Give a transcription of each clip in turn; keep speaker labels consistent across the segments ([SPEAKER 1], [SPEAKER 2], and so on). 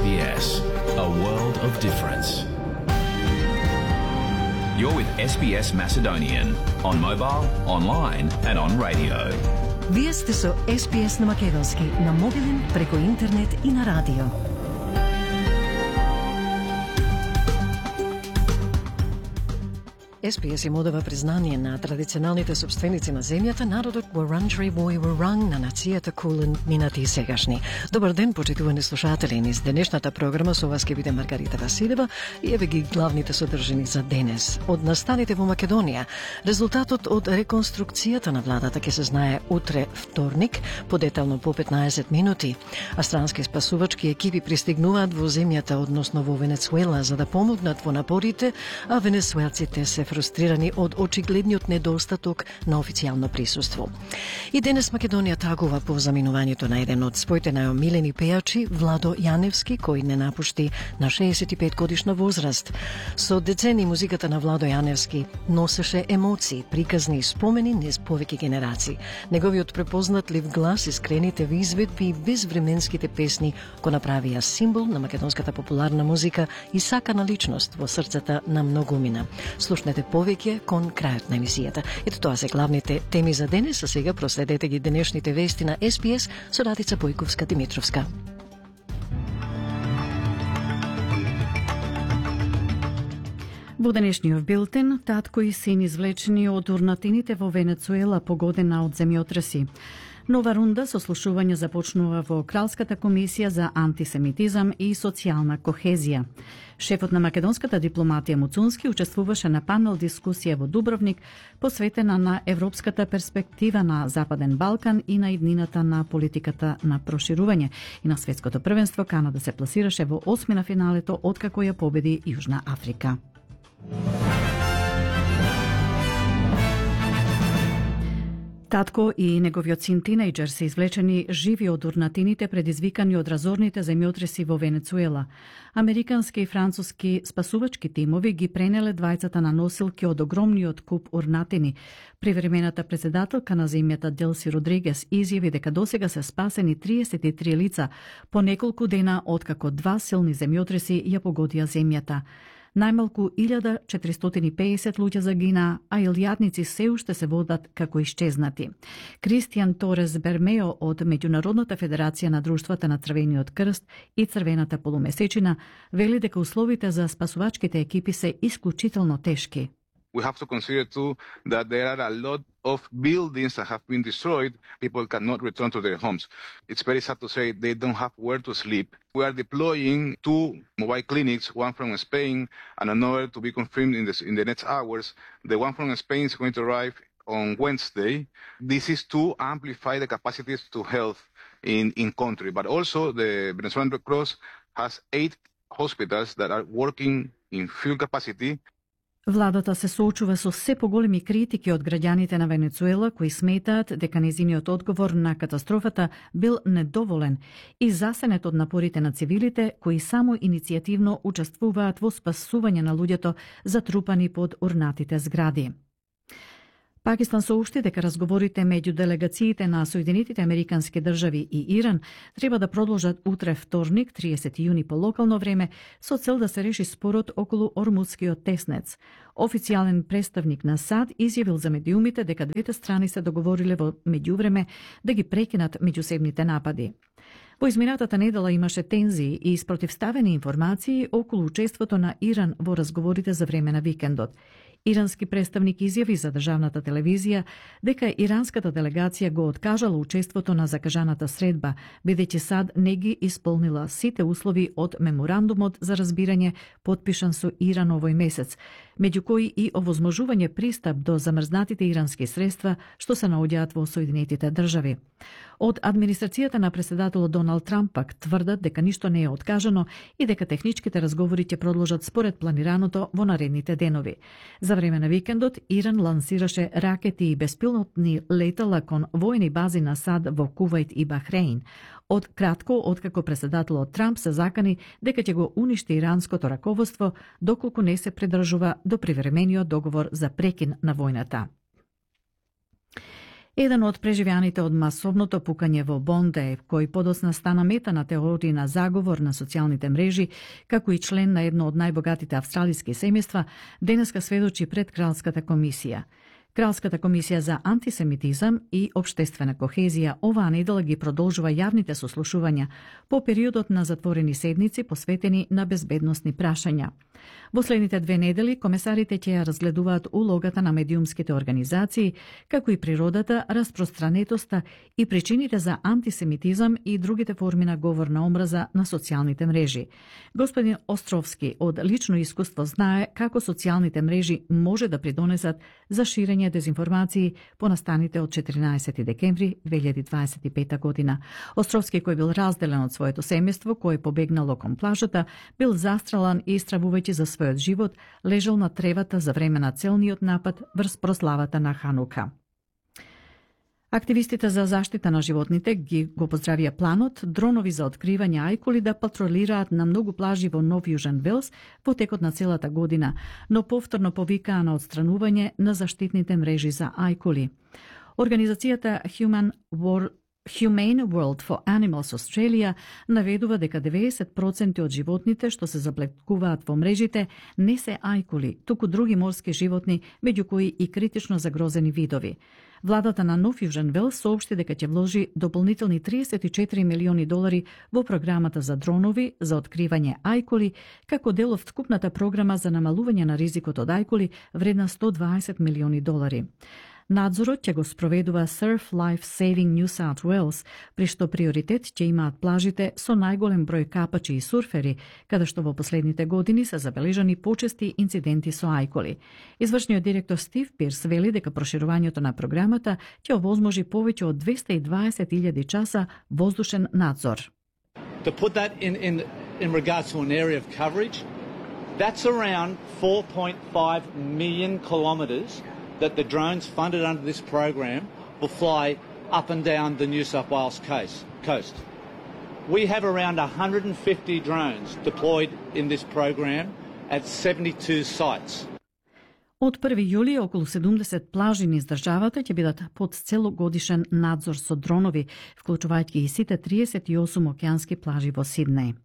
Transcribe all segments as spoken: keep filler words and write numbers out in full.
[SPEAKER 1] S B S, a world of difference. You're with S B S Macedonian on mobile, online and on radio.
[SPEAKER 2] Вие сте со С Б С на македонски, на мобилен, преку интернет и на радио. С Б С им одава признание на традиционалните собственици на земјата, народот Wurundjeri Woi Wurrung, на нацијата Кулин, минати и сегашни. Добар ден, почитувани слушатели. Низ денешната програма со вас ќе биде Маргарита Василева и еве ги главните содржини за денес. Од настаните во Македонија, резултатот од реконструкцијата на владата ќе се знае утре вторник, подетално по петнаесет минути. Австралски спасувачки екипи пристигнуваат во земјата, односно во Венецуела, за да помогнат во напорите, а венецуелците се фрустрирани од очигледниот недостаток на официјално присуство. И денес Македонија тагува по заминувањето на еден од своите најомилени пејачи, Владо Јаневски, кој не напушти на шеесет и пет годишна возраст. Со децени музиката на Владо Јаневски носеше емоции, приказни спомени низ повеќе генерации. Неговиот препознатлив глас, искрените изведби и безвременските песни го направија символ на македонската популарна музика и сакана личност во срцата на многумина. Слушнете повеќе кон крајот на емисијата. Ето тоа се главните теми за денес, а сега проследете ги денешните вести на С Б С со Радица Бојковска-Димитровска.
[SPEAKER 3] Во денешниот билтен, татко и син извлечени од урнатините во Венецуела погодена од земјотреси. Нова рунда со слушување започнува во Кралската комисија за антисемитизам и социјална кохезија. Шефот на македонската дипломатија Муцунски учествуваше на панел дискусија во Дубровник, посветена на европската перспектива на Западен Балкан и на иднината на политиката на проширување. И на светското првенство Канада се пласираше во осми на финалето откако ја победи Јужна Африка. Татко и неговиот син тинејџер се извлечени живи од урнатините предизвикани од разорните земјотреси во Венецуела. Американски и француски спасувачки тимови ги пренеле двајцата на носилки од огромниот куп урнатини. Привремената председателка на земјата Делси Родригес изјави дека досега се спасени триесет и три лица по неколку дена откако два силни земјотреси ја погодија земјата. Најмалку илјада четиристотини и пеесет луѓе загина, а илјадници се уште се водат како исчезнати. Кристијан Торес Бермео од Меѓународната федерација на друштвата на Црвениот крст и Црвената полумесечина вели дека условите за спасувачките екипи се исклучително тешки.
[SPEAKER 4] We have to consider too that there are a lot of buildings that have been destroyed. People cannot return to their homes. It's very sad to say they don't have where to sleep. We are deploying two mobile clinics, one from Spain and another to be confirmed in the, in the next hours. The one from Spain is going to arrive on Wednesday. This is to amplify the capacities to health in, in country. But also the Venezuelan Red Cross has eight hospitals that are working in full capacity.
[SPEAKER 3] Владата се соочува со се поголеми критики од граѓаните на Венецуела, кои сметаат дека нејзиниот одговор на катастрофата бил недоволен и засенет од напорите на цивилите, кои само иницијативно учествуваат во спасување на луѓето затрупани под урнатите згради. Пакистан соопшти дека разговорите меѓу делегациите на Соединетите Американски држави и Иран треба да продолжат утре вторник, триесети јуни по локално време, со цел да се реши спорот околу Ормудскиот теснец. Официјален представник на САД изјавил за медиумите дека двете страни се договориле во меѓувреме да ги прекинат меѓусебните напади. Во изминатата недела имаше тензии и спротивставени информации околу учеството на Иран во разговорите за време на викендот. Ирански представник изјави за државната телевизија дека иранската делегација го откажала учеството на закажаната средба, бидејќи САД не ги исполнила сите услови од меморандумот за разбирање потпишан со Иран овој месец, меѓу кои и овозможување пристап до замрзнатите ирански средства што се наоѓаат во Соединетите држави. Од администрацијата на председателот Доналд Трамп пак тврдат дека ништо не е откажано и дека техничките разговори ќе продолжат според планираното во наредните денови. За време на викендот Иран лансираше ракети и беспилотни летала кон војни бази на САД во Кувајт и Бахреин. Од кратко, откако председателот Трамп се закани дека ќе го уништи иранското раководство доколку не се придржува до привремениот договор за прекин на војната. Еден од преживеаните од масовното пукање во Бонде, кој подосна стана мета на теории на заговор на социјалните мрежи, како и член на едно од најбогатите австралиски семејства, денеска сведочи пред Кралската комисија. Кралската комисија за антисемитизам и обштествена кохезија оваа недела ги продолжува јавните сослушувања по периодот на затворени седници посветени на безбедносни прашања. Во следните две недели комесарите ќе ја разгледуваат улогата на медиумските организации, како и природата, распространетоста и причините за антисемитизам и другите форми на говор на омраза на социјалните мрежи. Господин Островски од лично искуство знае како социјалните мрежи може да придонесат за ширење дезинформации по настаните од четиринаесети декември две илјади дваесет и пета година. Островски, кој бил разделен од своето семејство, кој побегнало кон плажата, бил застрелан и стравувајќи за својот живот, лежал на тревата за време на целниот напад врз прославата на Ханука. Активистите за заштита на животните ги го поздравија планот дронови за откривање ајкули да патролираат на многу плажи во Нов Јужен Велс во текот на целата година, но повторно повикаа на отстранување на заштитните мрежи за ајкули. Организацијата Human World Humane World for Animals Australia наведува дека деветдесет проценти од животните што се заплеткуваат во мрежите не се ајкули, туку други морски животни, меѓу кои и критично загрозени видови. Владата на Нов Јужен Велс соопшти дека ќе вложи дополнителни триесет и четири милиони долари во програмата за дронови за откривање ајкули, како дел од вкупната програма за намалување на ризикот од ајкули вредна сто дваесет милиони долари. Надзорот ќе го спроведува Surf Life Saving New South Wales, при што приоритет ќе имаат плажите со најголем број капачи и сурфери, каде што во последните години се забележани почести инциденти со ајкули. Извршниот директор Стив Пирс вели дека проширувањето на програмата ќе овозможи повеќе од двесте и дваесет илјади часа воздушен надзор.
[SPEAKER 5] To put that in, in, in regards to an area of coverage, that's around four point five million kilometres that the drones funded under this program will fly up and down the New South Wales coast. We have around one hundred fifty drones deployed in this program at seventy-two sites.
[SPEAKER 3] Од први јули околу седумдесет плажи низ државата ќе бидат под целогодишен надзор со дронови, вклучувајќи и сите триесет и осум океански плажи во Сиднеј.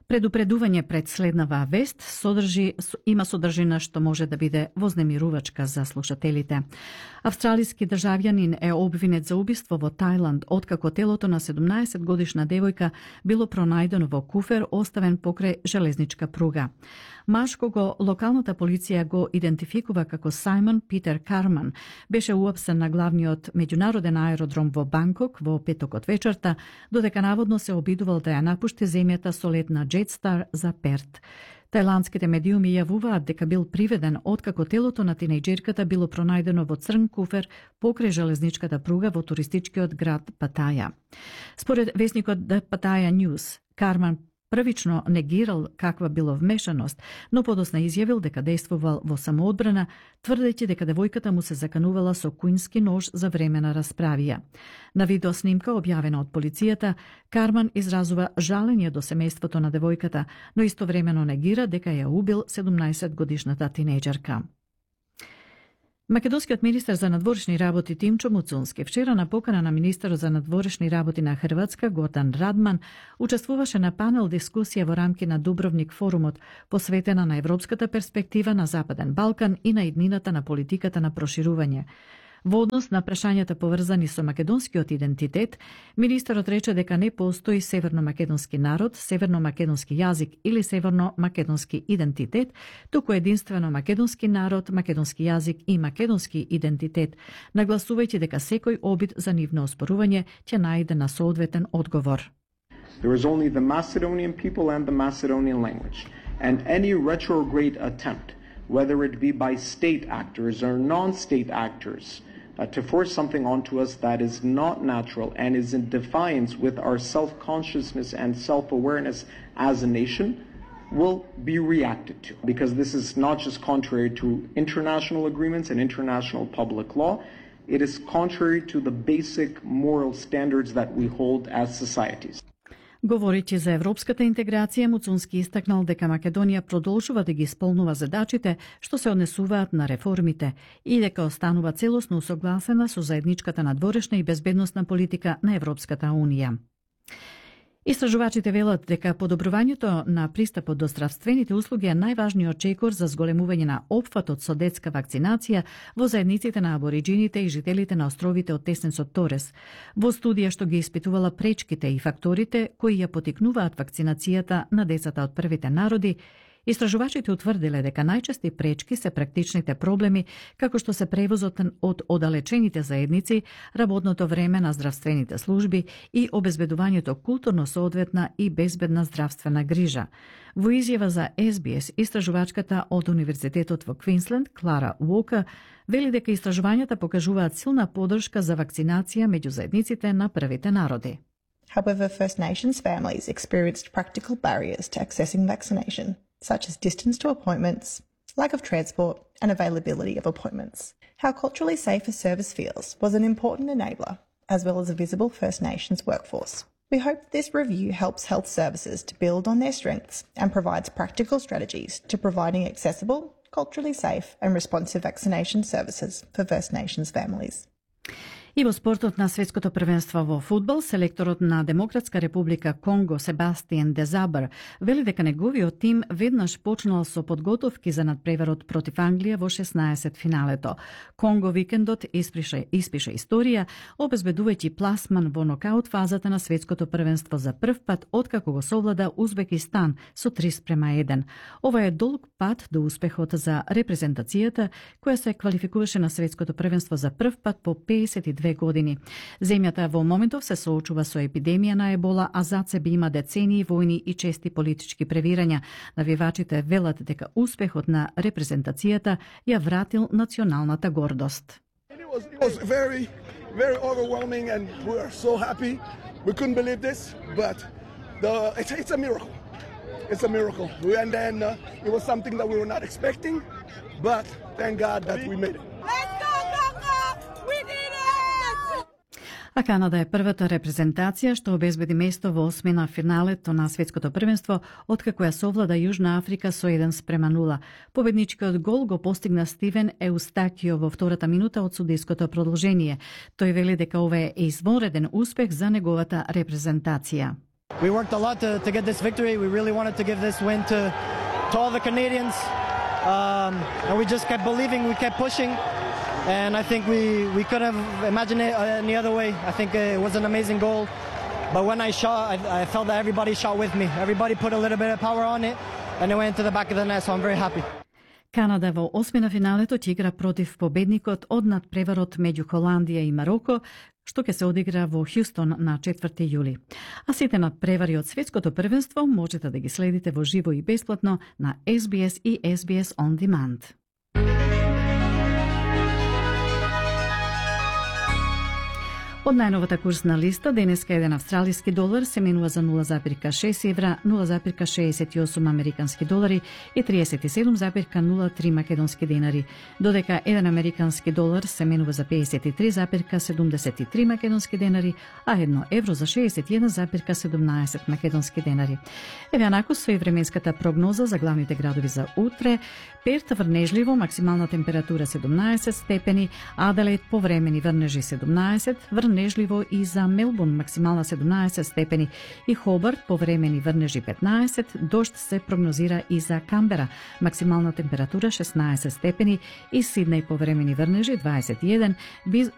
[SPEAKER 3] Предупредување пред следнава вест содржи, има содржина што може да биде вознемирувачка за слушателите. Австралиски државјанин е обвинет за убиство во Тајланд, откако телото на седумнаесет годишна девојка било пронајдено во куфер оставен покрај железничка пруга. Маж кого локалната полиција го идентификува како Сајмон Питер Карман беше уапсен на главниот меѓународен аеродром во Банкок во петокот вечерта, додека наводно се обидувал да ја напушти земјата со лет на Jetstar за Перт. Тајландските медиуми јавуваат дека бил приведен откако телото на тинејџерката било пронајдено во црн куфер покрај железничката пруга во туристичкиот град Патаја. Според весникот The Pattaya News, Карман првично негирал каква било вмешаност, но подосна изјавил дека действувал во самоодбрана, тврдејќи дека девојката му се заканувала со куински нож за време на расправија. На видеоснимка објавена од полицијата, Карман изразува жалење до семејството на девојката, но истовремено негира дека ја убил седумнаесет годишната тинејџерка. Македонскиот министер за надворешни работи Тимчо Муцунски вчера на покана на министерот за надворешни работи на Хрватска Гордан Радман учествуваше на панел дискусија во рамки на Дубровник форумот, посветена на европската перспектива на Западен Балкан и на иднината на политиката на проширување. Во однос на прашањата поврзани со македонскиот идентитет, министерот рече дека не постои северно-македонски народ, северно-македонски јазик или северно-македонски идентитет, туку единствено македонски народ, македонски јазик и македонски идентитет, нагласувајќи дека секој обид за нивно оспорување ќе најде на соодветен одговор.
[SPEAKER 6] There is only the Macedonian people and the Macedonian language, and any retrograde attempt, whether it be by state actors or non-state actors, uh, to force something onto us that is not natural and is in defiance with our self-consciousness and self-awareness as a nation, will be reacted to. Because this is not just contrary to international agreements and international public law, it is contrary to the basic moral standards that we hold as societies.
[SPEAKER 3] Говорејќи за европската интеграција, Муцунски истакнал дека Македонија продолжува да ги исполнува задачите што се однесуваат на реформите и дека останува целосно усогласена со заедничката надворешна и безбедносна политика на Европската унија. Истражувачите велат дека подобрувањето на пристапот до здравствените услуги е најважниот чекор за зголемување на опфатот со детска вакцинација во заедниците на абориджините и жителите на островите од Тесненсот Торес. Во студија што ги испитувала пречките и факторите кои ја потикнуваат вакцинацијата на децата од првите народи, истражувачите утврдиле дека најчести пречки се практичните проблеми, како што се превозот од оддалечените заедници, работното време на здравствените служби и обезбедувањето културно соодветна и безбедна здравствена грижа. Во изјава за Ес Би Ес, истражувачката од Универзитетот во Квинсленд, Клара Уока, вели дека истражувањата покажуваат силна поддршка за вакцинација меѓу заедниците на првите народи.
[SPEAKER 7] However, First Nations families experienced practical barriers to accessing vaccination, such as distance to appointments, lack of transport, and availability of appointments. How culturally safe a service feels was an important enabler, as well as a visible First Nations workforce. We hope that this review helps health services to build on their strengths and provides practical strategies to providing accessible, culturally safe, and responsive vaccination services for First Nations families.
[SPEAKER 3] И во спортот на светското првенство во фудбал, селекторот на Демократска република Конго Себастиен Дезабр вели дека неговиот тим веднаш почнал со подготовки за надпреварот против Англија во шеснаесет финалето. Конго викендот испише, испише историја, обезбедувајќи пласман во нокаут фазата на светското првенство за прв пат откако го совлада Узбекистан со три спрема еден. Ова е долг пат до успехот за репрезентацијата која се квалификуваше на светското првенство за прв пат по песет и две години. Земјата во моментов се соочува со епидемија на ебола, а зад себе има децении војни и чести политички превирања. Навивачите велат дека успехот на репрезентацијата ја вратил националната гордост.
[SPEAKER 8] It was, it was very, very overwhelming and we are so happy. We couldn't believe this, but the, it's, it's a miracle. It's a miracle. And then uh, it was something that we were not expecting, but thank God that we made it.
[SPEAKER 9] Let's go, Congo! We did it!
[SPEAKER 3] А Канада е првата репрезентација што обезбеди место во осмина финалето на светското првенство, откако ја совлада Јужна Африка со еден спрема нула. Победничкиот гол го постигна Стивен Еустакио во втората минута од судиското продолжение. Тој вели дека ова е извонреден успех за неговата репрезентација.
[SPEAKER 10] We worked a lot to, to get this victory. We really wanted to give this win to, to all the Canadians. Um, and we just kept believing, we kept pushing. And I think we, we couldn't have imagined it any other way. I think it was an amazing goal. But when I shot, I, I felt that everybody shot with me. Everybody put a little bit of power on it, and it went to the back of the net, so I'm very happy.
[SPEAKER 3] Канада во осмина финалето ќе игра против победникот од надпреварот меѓу Холандија и Мароко, што ќе се одигра во Хјустон на четврти јули. А сите надпревари од светското првенство можете да ги следите во живо и бесплатно на Ес Би Ес и Ес Би Ес On Demand. Од најновата курсна листа, денеска еден австралиски долар се менува за нула зарез шест евра, нула зарез шеесет и осум американски долари и триесет и седум зарез нула три македонски денари, додека еден американски долар се менува за пеесет и три зарез седумдесет и три македонски денари, а едно евро за шеесет и еден зарез седумнаесет македонски денари. Еве анаку со и временската прогноза за главните градови за утре. Перт врнежливо, максимална температура седумнаесет степени, Аделаид повремени врнежи седумнаесет, врнежливо и за Мелбурн максимална седумнаесет степени и Хобарт повремени врнежи петнаесет, дожд се прогнозира и за Камбера, максимална температура шеснаесет степени и Сиднеј повремени врнежи дваесет и еден,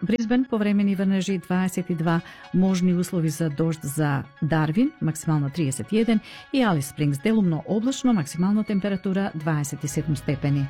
[SPEAKER 3] Брисбен повремени врнежи дваесет и два, можни услови за дожд за Дарвин, максимално триесет и еден и Алис Спрингс делумно облачно, максимална температура дваесет и седум степени.